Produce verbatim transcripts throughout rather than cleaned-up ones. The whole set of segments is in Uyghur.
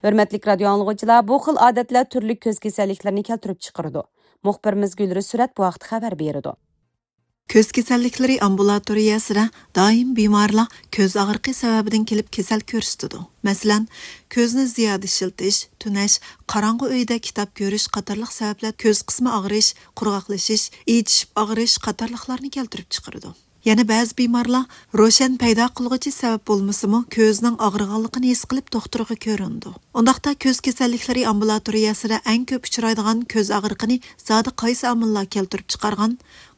ھۆرمەتلىك رادىيو ئاڭلىغۇچىلار، بۇ خىل ئادەتلەر تۈرلۈك كۆز كېسەللىكلىرىنى كەلتۈرۈپ چىقىرىدۇ. مۇخبىرىمىز گۈلرى سۈرەت بۇ ھەقتە خەۋەر بېرىدۇ. كۆز كېسەللىكلىرى ئامبۇلاتورىيەسىدە دائىم بىمارلار كۆز ئاغرىقى سەۋەبىدىن كېلىپ كېسەل كۆرسىتىدۇ. مەسىلەن، كۆزنى زىيادە ئىشلىتىش، تۈنەش، قاراڭغۇ ئۆيدە كىتاب كۆرۈش قاتارلىق سەۋەبلەر كۆز قىسمى ئاغرىش، قۇرغاقلىشىش، ئىچىشىپ ئاغرىش قاتارلىقلارنى كەلتۈرۈپ چىقىرىدۇ. يەنە بەزى بىمارلار روشەن پەيدا قىلغۇچى سەۋەب بولمىسىمۇ، كۆزىنىڭ ئاغرىغانلىقىنى ھېس قىلىپ دوختۇرغا كۆرۈنىدۇ. ئۇنداقتا كۆز كېسەللىكلىرى ئامبۇلاتورىيەسىدە ئەڭ كۆپ ئۇچرايدىغان كۆز ئاغرىقىنى زادى قايسى ئامىللار كەلتۈرۈپ چىقارغان؟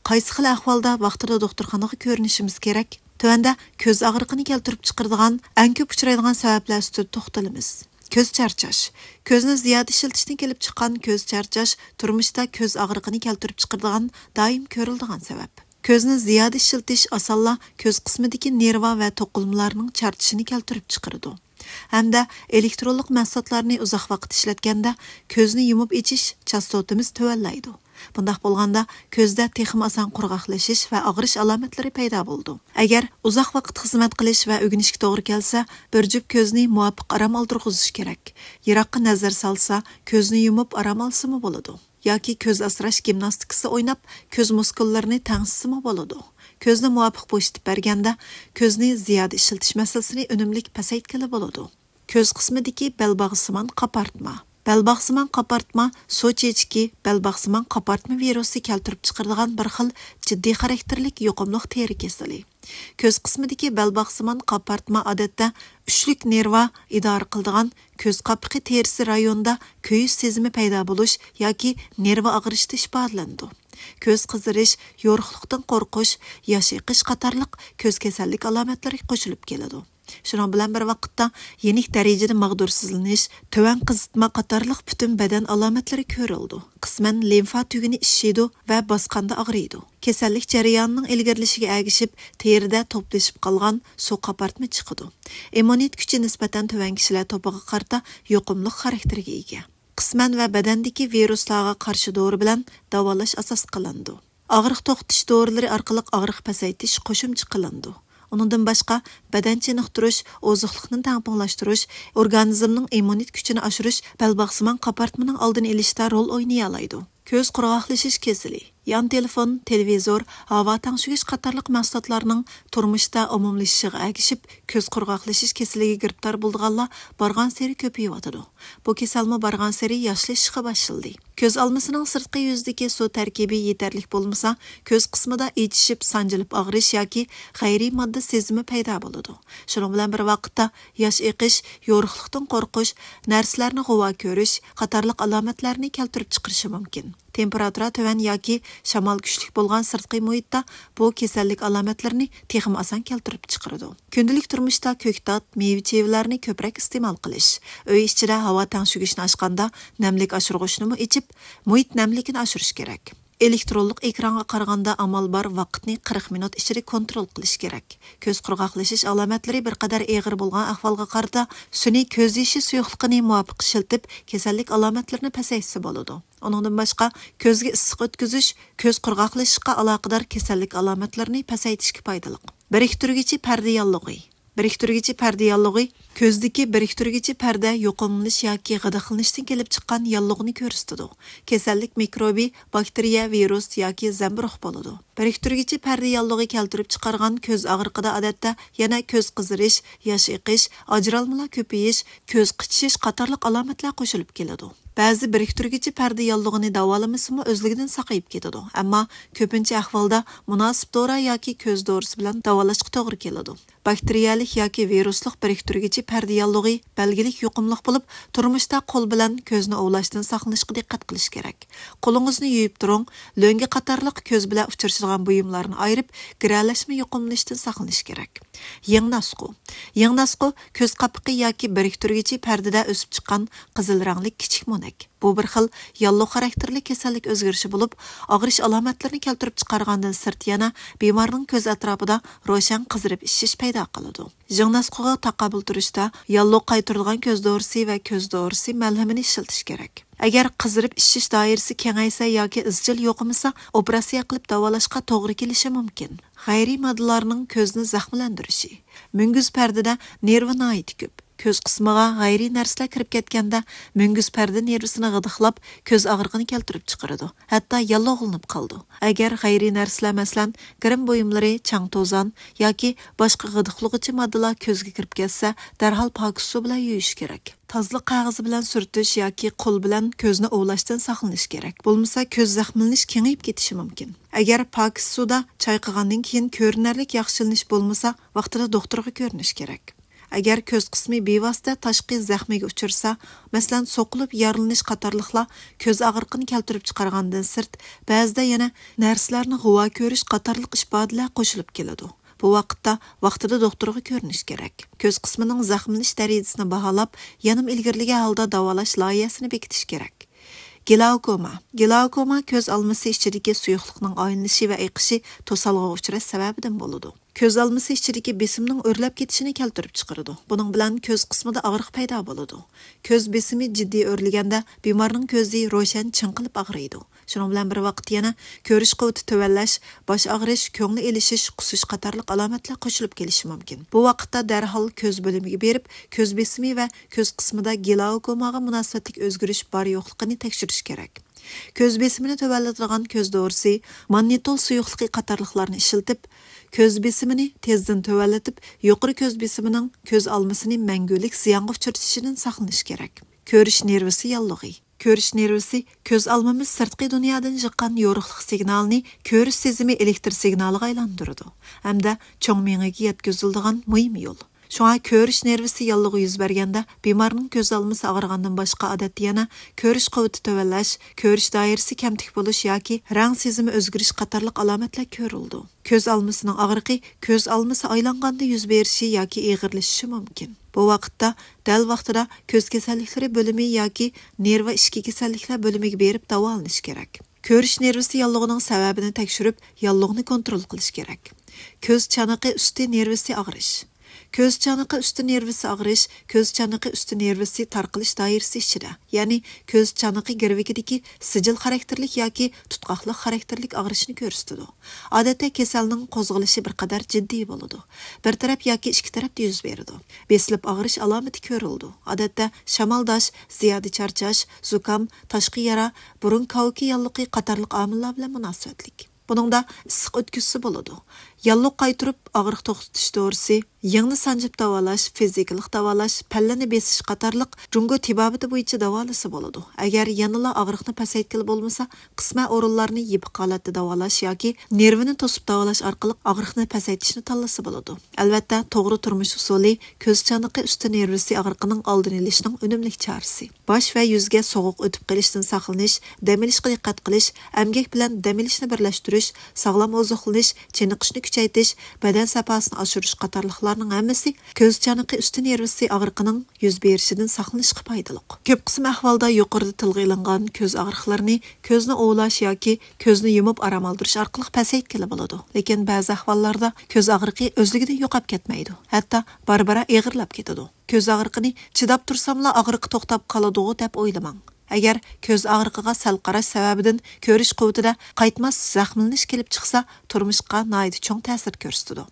قايسى خىل ئەھۋالدا ۋاقتىدا دوختۇرخانىغا كۆرۈنۈشىمىز كېرەك؟ تۆۋەندە كۆز ئاغرىقىنى كەلتۈرۈپ چىقىرىدىغان ئەڭ كۆپ ئۇچرايدىغان سەۋەبلەر ئۈستىدە توختىلىمىز. كۆز چارچاش. كۆزنى زىيادە ئىشلىتىشتىن كېلىپ چىققان كۆز چارچاش تۇرمۇشتا كۆز ئاغرىقىنى كەلتۈرۈپ چىقىرىدىغان دائىم كۆرۈلىدىغان سەۋەب. كۆزنى زىيادە ئىشلىتىش ئاسانلا كۆز قىسمىدىكى نېرۋا ۋە توقۇلمىلارنىڭ چارچىشىنى كەلتۈرۈپ چىقىرىدۇ. ھەمدە ئېلېكترونلۇق مەھسۇلاتلارنى ئۇزاق ۋاقىت ئىشلەتكەندە، كۆزنى يۇمۇپ ئېچىش چاستوتىمىز تۆۋەنلەيدۇ. بۇنداق بولغاندا، كۆزدە تېخىمۇ ئاسان قۇرغاقلىشىش ۋە ئاغرىش ئالامەتلىرى پەيدا بولىدۇ. ئەگەر ئۇزاق ۋاقىت خىزمەت قىلىش ۋە ئۆگىنىشكە توغرا كەلسە، بىر جۈپ كۆزنى مۇۋاپىق ئارام ئالدۇرغۇزۇش كېرەك. يىراققا نەزەر سالسا، كۆزنى يۇمۇپ ئارام ئالسىمۇ بولىدۇ. ياكى كۆز ئاسراش گىمناستىكىسى ئويناپ، كۆز مۇسكۇللىرىنى تەڭشىسىمۇ بولىدۇ. كۆزنى مۇۋاپىق بوشىتىپ بەرگەندە، كۆزنى زىيادە ئىشلىتىش مەسىلىسىنى ئۈنۈملۈك پەسەيتكىلى بولىدۇ. كۆز قىسمىدىكى بەلباغسىمان قاپارتما. بەلباغسىمان قاپارتما سۇ چېچىكى، بەلباغسىمان قاپارتما ۋىرۇسى كەلتۈرۈپ چىقىرىدىغان بىر خىل جىددىي خاراكتېرلىك يۇقۇملۇق تېرە كېسىلى. كۆز قىسمىدىكى بەلباغسىمان قاپارتما ئادەتتە ئۈچلۈك نېرۋا ئىدارە قىلىدىغان كۆز قاپىقى تېرىسى رايونىدا كۆيۈش سېزىمى پەيدا بولۇش ياكى نېرۋا ئاغرىشتا ئىپادىلىنىدۇ. كۆز قىزىرىش، يورۇقلۇقتىن قورقۇش، ياش ئېقىش قاتارلىق كۆز كېسەللىك ئالامەتلىرى قوشۇلۇپ كېلىدۇ. شۇنىڭ بىلەن بىر ۋاقىتتا، يېنىك دەرىجىدە ماغدۇرسىزلىنىش، تۆۋەن قىزىتما قاتارلىق پۈتۈن بەدەن ئالامەتلىرى كۆرۈلىدۇ. قىسمەن لىمفا تۈگۈنى ئىششىيدۇ ۋە باسقاندا ئاغرىيدۇ. كېسەللىك جەريانىنىڭ ئىلگىرىلىشىگە ئەگىشىپ، تېرىدە توپلىشىپ قالغان سۇ قاپارتما چىقىدۇ. ئىممۇنىتېت كۈچى نىسبەتەن تۆۋەن كىشىلەر توپىغا قارىتا يۇقۇملۇق خاراكتېرگە ئىگە. قىسمەن ۋە بەدەندىكى ۋىرۇسلارغا قارشى دورا بىلەن داۋالاش ئاساس قىلىنىدۇ. ئاغرىق توختىتىش دورىلىرى ئارقىلىق ئاغرىق پەسەيتىش قوشۇمچە قىلىنىدۇ. ئۇنىڭدىن باشقا، بەدەن چېنىقتۇرۇش، ئوزۇقلۇقنى تەڭپۇڭلاشتۇرۇش، ئورگانىزمنىڭ ئىممۇنىتېت كۈچىنى ئاشۇرۇش بەلباغسىمان قاپارتمىنىڭ ئالدىنى ئېلىشتا رول ئوينىيالايدۇ. كۆز قۇرغاقلىشىش كېسىلى، يان تېلېفون، تېلېۋىزور، ھاۋا تەڭشىگۈچ قاتارلىق مەھسۇلاتلارنىڭ تۇرمۇشتا ئومۇملىشىشىغا ئەگىشىپ، كۆز قۇرغاقلىشىش كېسىلىگە گىرىپتار بولىدىغانلار بارغانسېرى كۆپىيىۋاتىدۇ. بۇ كېسەلمۇ بارغانسېرى ياشلىشىشقا باشلىدى. كۆز ئالمىسىنىڭ سىرتقى يۈزىدىكى سۇ تەركىبى يېتەرلىك بولمىسا، كۆز قىسمىدا ئېچىشىپ، سانجىلىپ ئاغرىش ياكى غەيرىي ماددا سېزىمى پەيدا بولىدۇ. شۇنىڭ بىلەن بىر ۋاقىتتا، ياش ئېقىش، يورۇقلۇقتىن قورقۇش، نەرسىلەرنى غۇۋا كۆرۈش قاتارلىق ئالامەتلەرنى كەلتۈرۈپ چىقىرىشى مۇمكىن. تېمپېراتۇرا تۆۋەن ياكى شامال كۈچلۈك بولغان سىرتقى مۇھىتتا بۇ كېسەللىك ئالامەتلىرىنى تېخىمۇ ئاسان كەلتۈرۈپ چىقىرىدۇ. كۈندىلىك تۇرمۇشتا كۆكتات، مېۋە-چېۋىلەرنى كۆپرەك ئىستېمال قىلىش، ئۆي ئىچىدە ھاۋا تەڭشىگۈچنى ئاچقاندا نەملىك ئاشۇرغۇچنىمۇ ئېچىپ، مۇھىت نەملىكىنى ئاشۇرۇش كېرەك. ئېلېكترونلۇق ئېكرانغا قارىغاندا ئامال بار ۋاقىتنى قىرىق مىنۇت ئىچىدە كونترول قىلىش كېرەك. كۆز قۇرغاقلىشىش ئالامەتلىرى بىر قەدەر ئېغىر بولغان ئەھۋالغا قارىتا سۈنئىي كۆز يېشى سۇيۇقلۇقىنى مۇۋاپىق ئىشلىتىپ، كېسەللىك ئالامەتلىرىنى پەسەيتسە بولىدۇ. ئۇنىڭدىن باشقا، كۆزگە ئىسسىق ئۆتكۈزۈش كۆز قۇرغاقلىشىشقا ئالاقىدار كېسەللىك ئالامەتلىرىنى پەسەيتىشكە پايدىلىق. بىرىكتۈرگۈچى پەردە ياللۇغى. بىرىكتۈرگۈچى پەردە ياللۇغى كۆزدىكى بىرىكتۈرگۈچى پەردە يۇقۇملىنىش ياكى غىدىقلىنىشتىن كېلىپ چىققان ياللۇغنى كۆرسىتىدۇ. كېسەللىك مىكروبى، باكتېرىيە، ۋىرۇس ياكى زەمبۇرۇغ بولىدۇ. بىرىكتۈرگۈچى پەردە ياللۇغى كەلتۈرۈپ چىقارغان كۆز ئاغرىقىدا ئادەتتە يەنە كۆز قىزىرىش، ياش ئېقىش، ئاجرالمىلار كۆپىيىش، كۆز قىچىشىش قاتارلىق ئالامەتلەر قوشۇلۇپ كېلىدۇ. بەزى بىرىكتۈرگۈچى پەردە ياللۇغىنى داۋالىمىسىمۇ ئۆزلۈكىدىن ساقىيىپ كېتىدۇ، ئەمما كۆپىنچە ئەھۋالدا مۇناسىپ دورا ياكى كۆز دورىسى بىلەن داۋالاشقا توغرا كېلىدۇ. باكتېرىيەلىك ياكى ۋىرۇسلۇق بىرىكتۈرگۈچى پەردە ياللۇغى بەلگىلىك يۇقۇملۇق بولۇپ، تۇرمۇشتا قول بىلەن كۆزنى ئۇۋۇلاشتىن ساقلىنىشقا دىققەت قىلىش كېرەك. قولىڭىزنى يۇيۇپ تۇرۇڭ، لۆڭگە قاتارلىق كۆز بىلەن ئۇچرىشىدىغان بۇيۇملارنى ئايرىپ، گىرەلەشمە يۇقۇملىنىشتىن ساقلىنىش كېرەك. يىڭناسقۇ. يىڭناسقۇ كۆز قاپىقى ياكى بىرىكتۈرگۈچى پەردىدە ئۆسۈپ چىققان قىزىل رەڭلىك كىچىك مونەك. بۇ بىر خىل ياللۇغ خاراكتېرلىك كېسەللىك ئۆزگىرىشى بولۇپ، ئاغرىش ئالامەتلىرىنى كەلتۈرۈپ چىقارغاندىن سىرت يەنە بىمارنىڭ كۆز ئەتراپىدا روشەن قىزىرىپ ئىششىش پەيدا قىلىدۇ. يىڭناسقۇغا تاقابىل تۇرۇشتا ياللۇغ قايتۇرىدىغان كۆز دورىسى ۋە كۆز دورىسى مەلھىمىنى ئىشلىتىش كېرەك. ئەگەر قىزىرىپ ئىششىش دائىرىسى كېڭەيسە ياكى ئىزچىل يوقىمىسا، ئوپېراتسىيە قىلىپ داۋالاشقا توغرا كېلىشى مۇمكىن. غەيرىي ماددىلارنىڭ كۆزنى زەخىملەندۈرۈشى. مۈڭگۈز پەردىدە نېرۋا ناھايىتى كۆپ. كۆز قىسمىغا غەيرىي نەرسىلەر كىرىپ كەتكەندە، مۈڭگۈز پەردە نېرۋىسىنى غىدىقلاپ، كۆز ئاغرىقىنى كەلتۈرۈپ چىقىرىدۇ، ھەتتا ياللۇغلىنىپ قالىدۇ. ئەگەر غەيرىي نەرسىلەر، مەسىلەن، گىرىم بۇيۇملىرى، چاڭ-توزان ياكى باشقا غىدىقلىغۇچى ماددىلار كۆزگە كىرىپ كەتسە، دەرھال پاكىز سۇ بىلەن يۇيۇش كېرەك. تازىلىق قەغىزى بىلەن سۈرتۈش ياكى قول بىلەن كۆزنى ئۇۋۇلاشتىن ساقلىنىش كېرەك. بولمىسا، كۆز زەخىملىنىش كېڭىيىپ كېتىشى مۇمكىن. ئەگەر پاكىز سۇدا چايقىغاندىن كېيىن كۆرۈنەرلىك ياخشىلىنىش بولمىسا، ۋاقتىدا دوختۇرغا كۆرۈنۈش كېرەك. ئەگەر كۆز قىسمى بىۋاسىتە تاشقى زەخمىگە ئۇچرىسا، مەسىلەن، سوقۇلۇپ يارىلىنىش قاتارلىقلار كۆز ئاغرىقىنى كەلتۈرۈپ چىقارغاندىن سىرت، بەزىدە يەنە نەرسىلەرنى غۇۋا كۆرۈش قاتارلىق ئىپادىلەر قوشۇلۇپ كېلىدۇ. بۇ ۋاقىتتا ۋاقتىدا دوختۇرغا كۆرۈنۈش كېرەك. كۆز قىسمىنىڭ زەخىملىنىش دەرىجىسىنى باھالاپ، يېنىم ئىلگىرىلىگەن ھالدا داۋالاش لايىھەسىنى بېكىتىش كېرەك. گلاوكوما. گلاوكوما كۆز ئالمىسى ئىچىدىكى سۇيۇقلۇقنىڭ ئايلىنىشى ۋە ئېقىشى توسالغۇغا ئۇچراش سەۋەبىدىن بولىدۇ. كۆز ئالمىسى ئىچىدىكى بېسىمنىڭ ئۆرلەپ كېتىشىنى كەلتۈرۈپ چىقىرىدۇ. بۇنىڭ بىلەن كۆز قىسمىدا ئاغرىق پەيدا بولىدۇ. كۆز بېسىمى جىددىي ئۆرلىگەندە، بىمارنىڭ كۆزى روشەن چىڭقىلىپ ئاغرىيدۇ. شۇنىڭ بىلەن بىر ۋاقىتتا يەنە كۆرۈش قۇۋۋىتى تۆۋەنلەش، باش ئاغرىش، كۆڭلى ئېلىشىش، قۇسۇش قاتارلىق ئالامەتلەر قوشۇلۇپ كېلىشى مۇمكىن. بۇ ۋاقىتتا دەرھال كۆز بۆلۈمىگە بېرىپ، كۆز بېسىمى ۋە كۆز قىسمىدا گلاوكوماغا مۇناسىۋەتلىك ئۆزگىرىش بار يوقلۇقىنى تەكشۈرۈش كېرەك. كۆز بېسىمىنى تۆۋەنلىتىدىغان كۆز دورىسى، ماننىتول سۇيۇقلۇقى قاتارلىقلارنى ئىشلىتىپ، كۆز بېسىمىنى تېزدىن تۆۋەنلىتىپ، يۇقىرى كۆز بېسىمىنىڭ كۆز ئالمىسىنى مەڭگۈلۈك زىيانغا ئۇچرىتىشىدىن ساقلىنىش كېرەك. كۆرۈش نېرۋىسى ياللۇغى. كۆرۈش نېرۋىسى كۆز ئالمىمىز سىرتقى دۇنيادىن يىغقان يورۇقلۇق سىگنالىنى كۆرۈش سېزىمى ئېلېكتر سىگنالىغا ئايلاندۇرىدۇ ھەمدە چوڭ مېڭىگە يەتكۈزۈلىدىغان مۇھىم يول. شۇڭا كۆرۈش نېرۋىسى ياللۇغى يۈز بەرگەندە، بىمارنىڭ كۆز ئالمىسى ئاغرىغاندىن باشقا، ئادەتتە يەنە كۆرۈش قۇۋۋىتى تۆۋەنلەش، كۆرۈش دائىرىسى كەمتۈك بولۇش ياكى رەڭ سېزىمى ئۆزگىرىش قاتارلىق ئالامەتلەر كۆرۈلىدۇ. كۆز ئالمىسىنىڭ ئاغرىقى كۆز ئالمىسى ئايلانغاندا يۈز بېرىشى ياكى ئېغىرلىشىشى مۇمكىن. بۇ ۋاقىتتا دەل ۋاقتىدا كۆز كېسەللىكلىرى بۆلۈمى ياكى نېرۋا ئىچكى كېسەللىكلەر بۆلۈمىگە بېرىپ داۋالىنىش كېرەك. كۆرۈش نېرۋىسى ياللۇغىنىڭ سەۋەبىنى تەكشۈرۈپ، ياللۇغنى كونترول قىلىش كېرەك. كۆز چانىقى ئۈستى نېرۋىسى ئاغرىش. كۆز چانىقى ئۈستى نېرۋىسى ئاغرىش، كۆز چانىقى ئۈستى نېرۋىسى تارقىلىش دائىرىسى ئىچىدە، يەنى كۆز چانىقى گىرۋىكىدىكى سىجىل خاراكتېرلىك ياكى تۇتقاقلىق خاراكتېرلىك ئاغرىشنى كۆرسىتىدۇ. ئادەتتە كېسەلنىڭ قوزغىلىشى بىر قەدەر جىددىي بولىدۇ. بىر تەرەپ ياكى ئىككى تەرەپتە يۈز بېرىدۇ. بېسىلىپ ئاغرىش ئالامىتى كۆرۈلىدۇ. ئادەتتە شامالداش، زىيادە چارچاش، زۇكام، تاشقى يارا، بۇرۇن كاۋىكى ياللۇقى قاتارلىق ئامىللار بىلەن مۇناسىۋەتلىك. بۇنىڭدا ئىسسىق ئۆتكۈزسە بولىدۇ. ياللۇغ قايتۇرۇپ ئاغرىق توختىتىش دورىسى، يىڭنە سانجىپ داۋالاش، فىزىكىلىق داۋالاش، پەللىنى بېسىش قاتارلىق جۇڭگو تېبابىتى بويىچە داۋالىسا بولىدۇ. ئەگەر يەنىلا ئاغرىقنى پەسەيتكىلى بولمىسا، قىسمەن ئورۇنلارنى يېپىق ھالەتتە داۋالاش ياكى نېرۋىنى توسۇپ داۋالاش ئارقىلىق ئاغرىقنى پەسەيتىشنى تاللىسا بولىدۇ. ئەلۋەتتە، توغرا تۇرمۇش ئۇسۇلى كۆز چانىقى ئۈستى نېرۋىسى ئاغرىقىنىڭ ئالدىنى ئېلىشنىڭ ئۈنۈملۈك چارىسى. باش ۋە يۈزگە سوغۇق ئۆتۈپ قېلىشتىن ساقلىنىش، دەم ئېلىشقا دىققەت قىلىش، ئەمگەك بىلەن دەم ئېلىشنى بىرلەشتۈرۈش، ساغلام ئوزۇقلىنىش، چېنىقىشنى كۈچەيتىش، بەدەن ساپاسىنى ئاشۇرۇش قاتارلىقلارنىڭ ھەممىسى كۆز چانىقى ئۈستى نېرۋىسى ئاغرىقىنىڭ يۈز بېرىشىدىن ساقلىنىشقا پايدىلىق. كۆپ قىسىم ئەھۋالدا يۇقىرىدا تىلغا ئېلىنغان كۆز ئاغرىقلىرىنى كۆزنى ئۇۋۇلاش ياكى كۆزنى يۇمۇپ ئارام ئالدۇرۇش ئارقىلىق پەسەيتكىلى بولىدۇ. لېكىن بەزى ئەھۋاللاردا كۆز ئاغرىقى ئۆزلۈكىدىن يوقاپ كەتمەيدۇ، ھەتتا بارا-بارا ئېغىرلاپ كېتىدۇ. كۆز ئاغرىقىنى چىداپ تۇرساملا ئاغرىقى توختاپ قالىدىغۇ دەپ ئويلىماڭ. ئەگەر كۆز ئاغرىقىغا سەل قاراش سەۋەبىدىن كۆرۈش قۇۋۋىتىدە قايتماس زەخىملىنىش كېلىپ چىقسا، تۇرمۇشقا ناھايىتى چوڭ تەسىر كۆرسىتىدۇ.